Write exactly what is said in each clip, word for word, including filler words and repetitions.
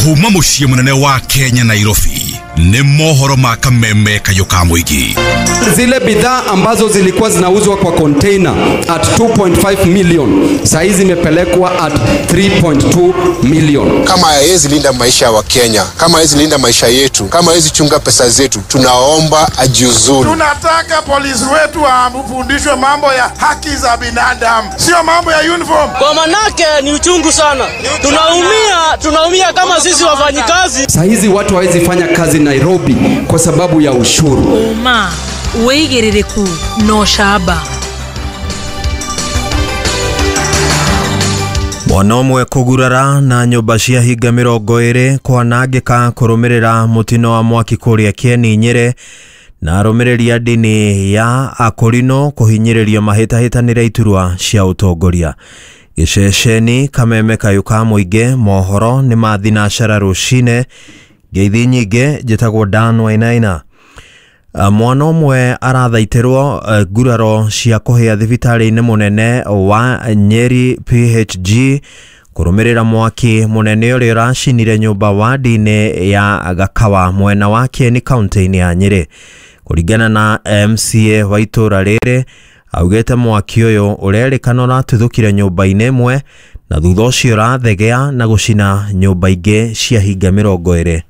Kuma muciĩ munene wa Kenya Nairobi ni mohoro ma kameme kayo ka mwingi. Zile bidhaa ambazo zilikuwa zinauzwa kwa container at two point five million saa hizi zimepelekwa at three point two million. Kama hawezi linda maisha wa Kenya, kama hawezi linda maisha yetu, kama hawezi chunga pesa zetu, tunaomba ajiuzuru. Tunataka polisi wetu wafundishwe mambo ya haki za binadamu, sio mambo ya uniform. Kwa manake ni uchungu sana. Tunaumia, tunaumia kama sisi wafanyikazi. Saa hizi watu hawezi fanya kazi Nairobi kwa sababu ya ushuru. Uma wigiririku no shaba. Mwana ũmwe kũgurara na nyũmba cia hinga mĩrongo ĩrĩ kwanangĩka kũrũmĩrĩra mũtino wa mwaki kũrĩa Kieni Nyĩrĩ na arũmĩrĩri a ndini ya Akorino kũhinyĩrĩrio mahĩtahĩtanĩre iturwa cia ũtongoria. Gĩceceni kameme kayũ ka mũingĩ mohoro nĩ ma thinacara rũcine. Ngeithi nyingĩ njĩtagwo Dan Wainaina. Mwana ũmwe arathaitĩrwo nguraro cia kũhĩa thibitarĩ-inĩ mũnene wa Nyeri P H G kũrũmĩrĩra mwaki mũnene ũrĩa ũracinire nyũmba wadi-inĩ ya Gakawa mwena wa Kieni kaunti-inĩ ya Nyĩrĩ. Kũringana na M C A wa itũũra rĩrĩ augĩte mwaki ũyũ ũrerĩkana ũratuthũkire nyũmba-inĩ ĩmwe na thutha ũcio ũrathegea na gũcina nyũmba ingĩ cia hinga mĩrongo ĩrĩ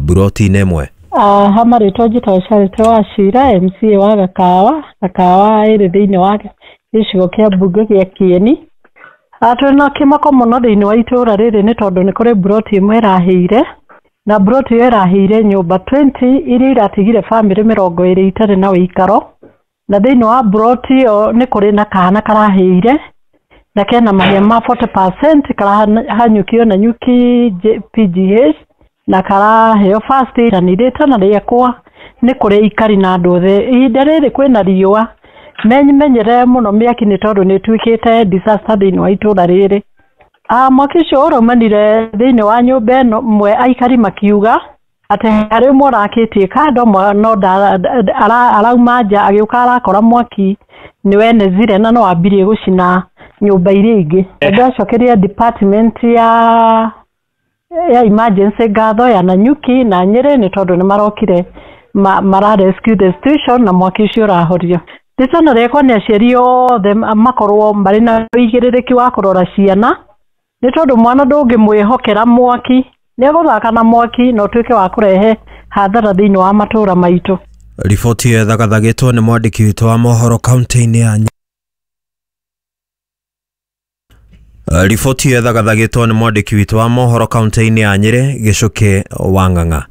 buroti-inĩ ĩmwe. Ah, ha marĩtwa njĩtagwo Charity Wachira, M C A wa Gakawa. Gakawa ĩrĩ thĩinĩ wa gĩcigo kĩa mbunge gĩa Kieni. Twĩna kĩmako mũno thĩinĩ wa itũũra rĩrĩ nĩ tondũ nĩ kũrĩ buroti ĩmwe ĩrahĩire, na buroti ĩyo ĩrahĩire nyũmba twenty iria iratigire bamĩrĩ mĩrongo ĩrĩ itarĩ na wĩikaro. Na thĩinĩ wa buroti ĩyo nĩ kũrĩ na kana karahĩire na kena mahĩa ma forty percent karahanyũkio na nyuki P G H na karaheo first aid. Na rĩtana rĩakwa nĩ kũrĩ ikari na andũ othe ihinda rĩrĩ kwĩna riũa menyere mũno mĩaki nĩ tondũ nĩ ĩtuĩkĩte disaster thĩinĩ wa itũũra rĩrĩ. Ah, mwaki ũcio ũraumanire thĩinĩ wa nyũmba ĩno ĩmwe aikari makiuga atĩ harĩ ũmwe ũrakĩtie kando no arauma nja agĩũka arakora mwaki nĩ wenezire na no ambirie gũcina nyũmba iria ingĩ. Ndacokeria department ya ya emergency ngatho ya Nanyuki na Nyĩrĩ nĩ tondũ nĩ marokire ma, mara rescue the situation na mwaki ũcio ũrahorio. Rĩtana rĩakwa nĩ aciari othe makorwo marĩ na ũigĩrĩrĩki wa kũrora ciana nĩ tondũ mwana ndũngĩmwĩhokera mwaki, nĩ egũthaka na mwaki na ũtuĩke wa kũrehe hathara thĩinĩ wa matũũra maitũ. Riboti ĩyo ĩthagathagĩtwo nĩ mwandĩki witũ wa mohoro kaunti-inĩ ya Riboti ĩyo ĩthagathagĩtwo nĩ mwandĩki witũ wa mohoro kaunti-inĩ ya Nyĩrĩ Gĩcũkĩ wa Ng'ang'a.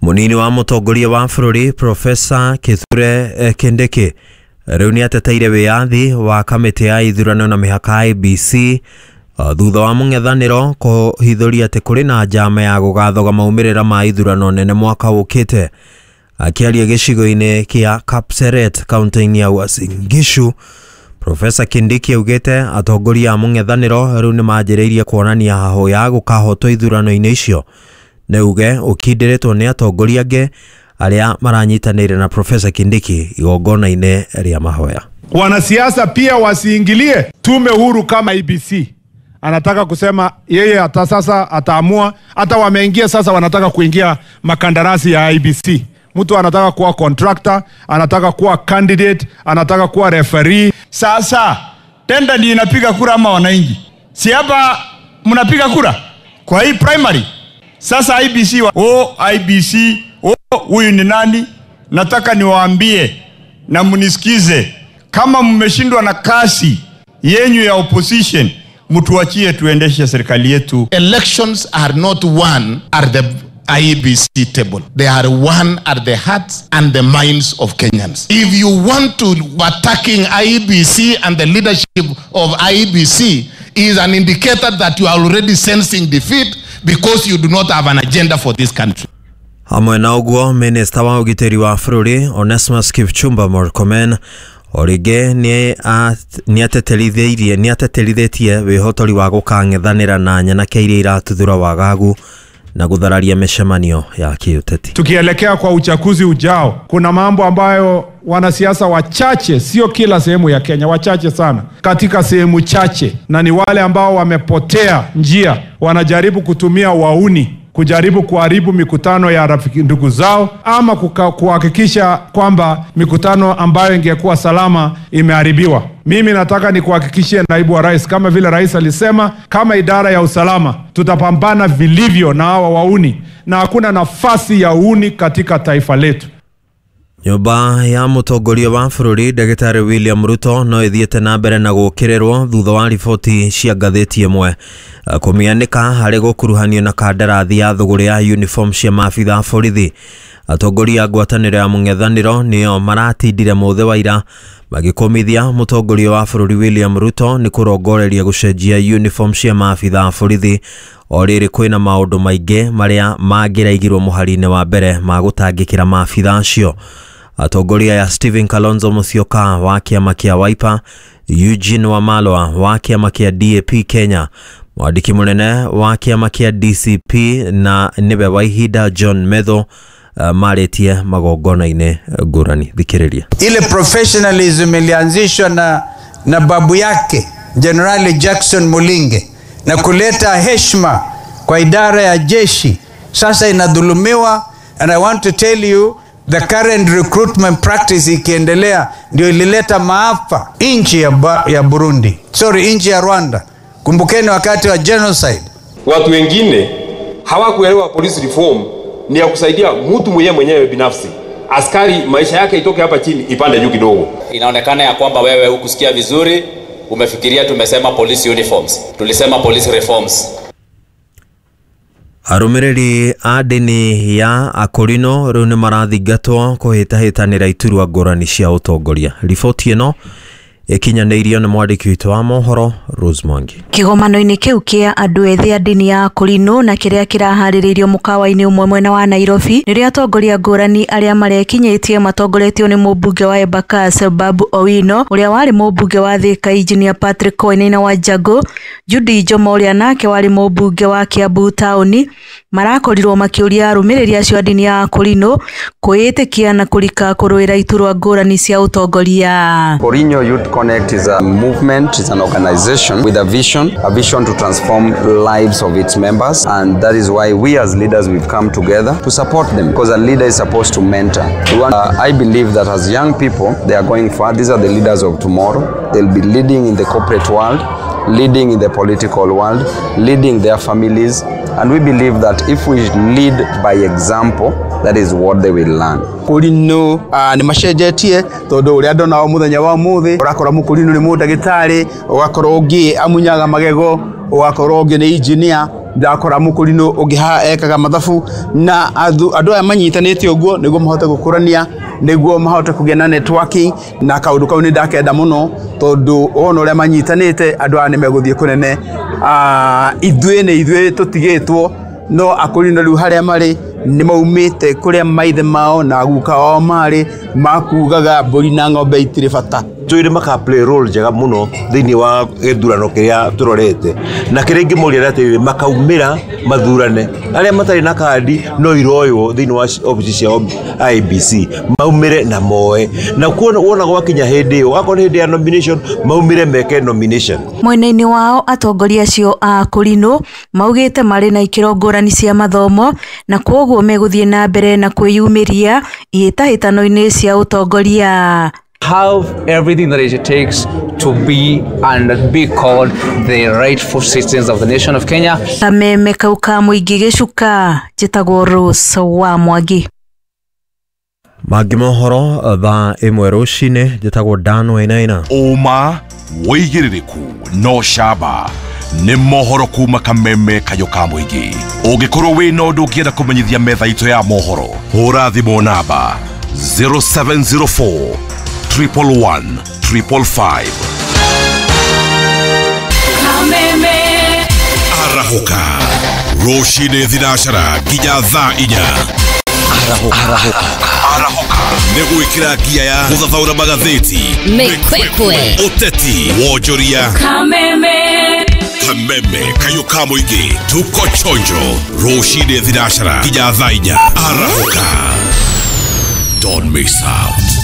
Mũnini wa mũtongoria wa bũrũri Profesa Kithure Kindiki rĩu nĩateteire wĩyathi wa kamĩtĩ ya ithurano na mĩhaka I B C thutha wa mũng'ethanĩro kũhithũria atĩ kũrĩ na njama ya gũgathoga maumĩrĩra ma ithurano nene mwaka ũkĩte. Akĩaria gĩcigo-inĩ kĩa Kapseret kaunti-inĩ ya Uasin Gishu, Profesa Kindiki augĩte atongoria a mũng'ethanĩro rĩu nĩmanjĩrĩirie kuonania hahũ ya gũkahotwo ithurano-inĩ icio. Nĩ uge ũkindĩrĩtwo nĩ atongoria angĩ arĩa maranyitanĩire na Profesa Kindiki igongona-inĩ rĩa mahoya. Wanasiasa pia wasiingilie tume huru kama I B C. Anataka kusema yeye hata sasa ataamua, hata wameingia sasa wanataka kuingia makandarasi ya I B C. Mtu anataka kuwa contractor, anataka kuwa candidate, anataka kuwa referee. Sasa tenda ndiyo inapiga kura ama wananchi? Si hapa mnapiga kura kwa hii primary. Sasa I B C wa, oh, I B C, oh, huyu ni nani? Nataka niwaambie na mnisikize, kama mmeshindwa na kasi yenyu ya opposition, mtuachie tuendeshe serikali yetu. Elections are not won at the I B C table. They are won at the hearts and the minds of Kenyans. If you want to attacking I B C and the leadership of I B C is an indicator that you are already sensing defeat because you do not have an agenda for this country. Hamwe na ũguo, minista wa ũgitĩri wa bũrũri Onesmus Kipchumba Murkomen o rĩngĩ nĩ ateterithĩirie nĩ ateterithĩtie wĩhotori wa gũkang'ethanĩra na nyanake iria iratuthũra wagagu na guthararia mĩcemanio ya kĩũteti. Tukielekea kwa uchaguzi ujao, kuna mambo ambayo wanasiasa wachache, sio kila sehemu ya Kenya, wachache sana, katika sehemu chache, na ni wale ambao wamepotea njia, wanajaribu kutumia wauni kujaribu kuharibu mikutano ya rafiki ndugu zao, ama kuhakikisha kwamba mikutano ambayo ingekuwa salama imeharibiwa. Mimi nataka nikuhakikishie naibu wa rais, kama vile rais alisema, kama idara ya usalama tutapambana vilivyo na hawa wauni, na hakuna nafasi ya uuni katika taifa letu. Nyũmba ya mũtongoria wa bũrũri Ndagĩtarĩ William Ruto no ĩthiĩte na mbere na gũũkĩrĩrwo thutha wa riboti cia ngathĩti ĩmwe kũmĩanĩka harĩ gũkuruhanio na kandarathi ya thũgũrĩ ya uniform cia maabitha a borithi. Atongoria a ngwatanĩro ya mũng'ethanĩro nĩo maratindire mũthĩ wa ira magĩkũmithia mũtongoria wa bũrũri William Ruto nĩ kũrongoreria gũcenjia uniform cia maabitha a borithi o rĩrĩ kwĩna maũndũ maingĩ marĩa mangĩraigirwo mũhari-inĩ wa mbere ma gũtangĩkĩra maabitha acio. Atongoria ya Stephen Kalonzo Musyoka wa kĩama kĩa Wiper, Eugene Wamalwa wa kĩama kĩa D A P Kenya, mwandĩki mũnene wa kĩama kĩa D C P na nĩwe wa ihinda John Metho uh, marĩtie magongona-inĩ ngũrani. Thikĩrĩria. Ile professionalism ilianzishwa na, na babu yake General Jackson Mulinge na kuleta heshima kwa idara ya jeshi, sasa inadhulumiwa. And I want to tell you, the current recruitment practice ikiendelea ndio ilileta maafa nchi ya, ya Burundi, sorry, nchi ya Rwanda. Kumbukeni wakati wa genocide. Watu wengine hawakuelewa police reform ni ya kusaidia mtu mwenyewe mwenyewe binafsi. Askari maisha yake itoke hapa chini ipande juu kidogo. Inaonekana ya kwamba wewe hukusikia vizuri, umefikiria tumesema police uniforms. Tulisema police reforms. Arũmĩrĩri a ndini ya Akorino rĩu nĩ marathingatwo kũhĩtahĩtanĩra iturwa ngũrani cia ũtongoria. Riboti ĩno ĩkinyanĩirio nĩ mwandĩki witũ wa mohoro Rose Mwangi. Kĩgomano-inĩ kĩu kĩa andũ ethĩ a ndini ya Akorino na kĩrĩa kĩraharĩrĩirio mũkawa-inĩ ũmwe mwena wa Nairobi nĩrĩo atongoria ngũrani arĩa marekinyĩtie matongoretio nĩ mũmbunge wa Embakasi Babu Owino, ũrĩa warĩ mũmbunge wa Thika Engineer Patrick Wainaina wa Njago, Judy Njomo ũrĩa nake warĩ mũmbunge wa Kiambu taũni, marakorirwo makĩũria arũmĩrĩri acio a ndini ya Akorino kwĩĩtĩkia na kũrika kũrũĩra iturwa ngũrani cia ũtongoria. Korinyo Youth Connect is a movement, is an organization with a vision, a vision to transform lives of its members, and that is why we as leaders we've come together to support them, because a leader is supposed to mentor. We want, uh, I believe that as young people, they are going far. These are the leaders of tomorrow. They'll be leading in the corporate world, leading in the political world, leading their families, and we believe that if we lead by example, that is what they will learn. Kũrinũ nĩ macenjetie tondũ ũrĩa ndona o mũthenya wa ũmũthĩ, ũrakora mũkũrinũ nĩ mũndagĩtarĩ, ũgakora ũngĩ amunyaga magego, ũgakora ũngĩ nĩ engineer, ndakora mũkũrinũ ũngĩ haha ekaga mathabu, na andũ aya manyitanĩte ũguo nĩguo mahote gũkũrania, nĩguo mahote kũgĩa na networking, na kaũndũ kau nĩ ndakenda mũno tondũ wona ũrĩa manyitanĩte andũ aya nĩ megũthiĩ kũnene. Ithuĩ nĩ ithuĩ tũtigĩtwo, no akũrinũ rĩu harĩa marĩ nĩ maumĩte kũrĩa maithe mao na guka wao marĩ makugaga mbũri na ng'ombe itirĩ bata. Tũire maka play role njega mũno thĩinĩ wa gĩthurano kĩrĩa tũrorete, na kĩrĩa ingĩmoria atĩrĩrĩ, makaumĩra mathurane arĩa matarĩ na kandi no iroywo thĩinĩ wa obici cia I B C, maumĩre na moe, na kuona wona gwakinya hĩndĩ ĩyo, akorwo nĩ hĩndĩ ya nomination maumĩre meke nomination. Mwena-inĩ wao atongoria acio a Akorino maugĩte marĩ na ikĩro ngũrani cia mathomo na kwoguo megũthiĩ na mbere na kwĩyumĩria ihĩtahĩtano-inĩ cia ũtongoria. Have everything that it takes to be and be called the rightful citizens of the nation of Kenya. Kameme kau ka mũingĩ gĩcuka, njĩtagwo Rose wa Mwangi. Mangĩ mohoro thaa ĩmwe rũcinĩ, njĩtagwo Dan Wainaina. Ũma wĩigĩrĩrĩku no camba nĩ mohoro kuma kameme kayũ ka mũingĩ. Ũngĩkorwo wĩna ũndũ ũngĩenda kũmenyithia metha itũ ya mohoro, hũra thimũ namba zero seven zero four triple one triple five. Kameme Arahũka rũcinĩ thinacara nginya thaa inya. Arahũka Arahũka nĩ gwĩkĩra ngia ya gũthathaũra magathĩti, mĩkwekwe, ũteti, wonjoria. Kameme. Kameme kayo ka mũingĩ, tuko chonjo rũcinĩ thinacara nginya thaa inya. Arahũka, don't miss out.